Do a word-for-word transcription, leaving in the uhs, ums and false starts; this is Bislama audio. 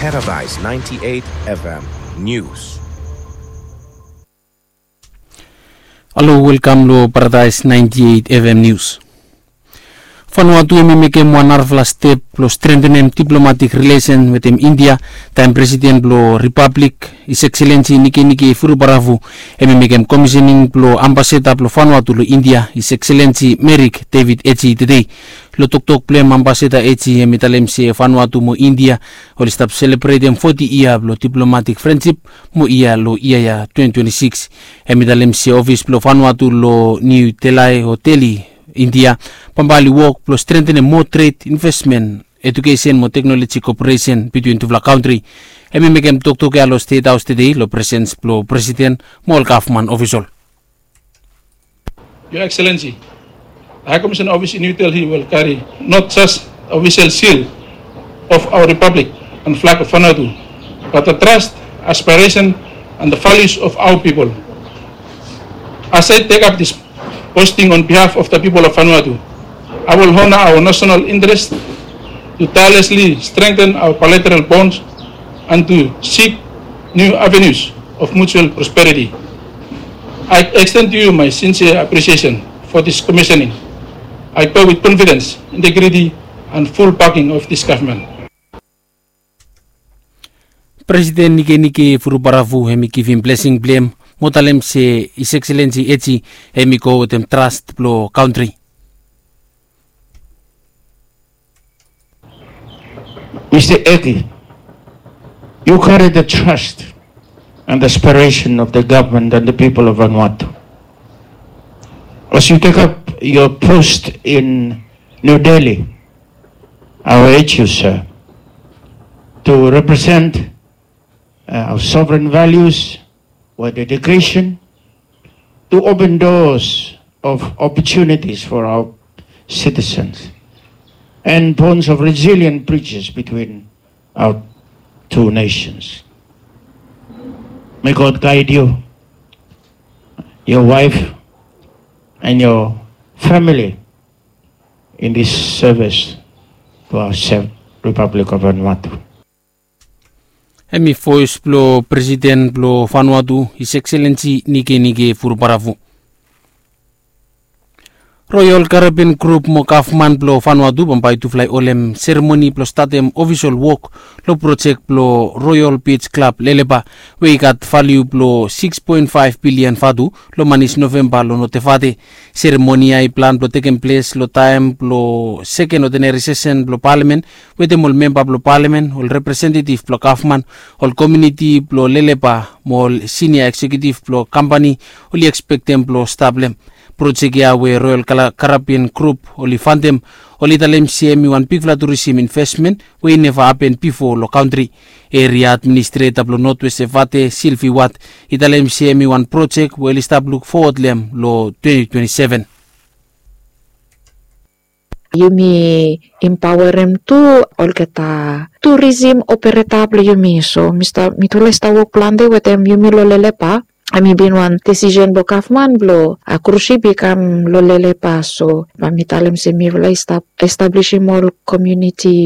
Paradise ninety-eight F M News. Halo, welkam lo Paradise ninety-eight F M News. Vanuatu hemi mekem wan narafala step blo strentenem diplomatik rilesen wetem India, taem Presiden blo Ripablik, His Excellency Nikenike Vurobaravu, hemi mekem komisening blo ambasada blo Vanuatu lo India, His Excellency Merrick David Edgey, tedei. Lo toktok blo hem, ambasada Edgey hemi talem se Vanuatu mo India oli stap selebretem foti yia blo diplomatik frensip mo yia lo yia ya twenty twenty-six. Hemi talem se ofis blo Vanuatu lo Niu Delai o Deli, India, bambae oli wok blo strentenem moa tred, investmen, ejukesen mo teknoloji koperesen bitwin tufala kantri. Hemi mekem toktok ya lo Stet Haos tedei lo presens blo Presiden mo ol gavman ofisol. Your Excellency, the High Commission Office in New Delhi will carry not just the official seal of our Republic and flag of Vanuatu, but the trust, aspiration, and the values of our people. As I take up this posting on behalf of the people of Vanuatu, I will honor our national interest to tirelessly strengthen our bilateral bonds and to seek new avenues of mutual prosperity. I extend to you my sincere appreciation for this commissioning. I go with confidence, integrity, and full backing of this government. Presiden Nikenike Vurobaravu hemi givim blesing blo hem mo talem se His Excellency Edgey hemi go wetem trast blo kantri. Mister Edgey, you carry the trust and aspiration of the government and the people of Vanuatu. As you take up your post in New Delhi, I will urge you, sir, to represent, uh, our sovereign values with dedication, to open doors of opportunities for our citizens and bonds of resilient bridges between our two nations. May God guide you, your wife, and your family in this service to our said Republic of Vanuatu. Hemi voes blo Presiden blo Vanuatu, His Excellency Nikenike Vurobaravu. Royal Caribbean Group mo gavman blo Vanuatu bambae tufala i holem seremoni blo statem ofisol wok lo projek blo Royal Beach Club Lelepa, we i gat valiu blo six point five bilian vatu, lo manis Novemba lo Notevate. Seremoni ya i plan blo tekem ples lo taem blo seken odeneri sesen blo palamen, wetem ol memba blo palamen, ol representetiv blo gavman, ol komuniti blo Lelepa mo ol sinia eksekiutiv blo kampani oli ekspektem blo stap lo hem. Projek ya we Royal Kala-, Caribbean Group oli fantem, oli talem se hemi wan bigfala turisim investmen we i neva hapen bifo lo kantri. Eria administreta blo Northwest Evate, Sylvie Watt, i talem se hemi wan projek we oli stap luk fowod lo hem lo twenty twenty-seven. Yumi impaoarem tu olgeta turisim opereta blo yumi. So mi stap, mitufala i stap wok plante wetem yumi lo Lelepa. Hemi bin wan desisen blo gavman blo, a, krusip i kam lo Lelepa. So bae mi talem se mifala i stap establisim ol komuniti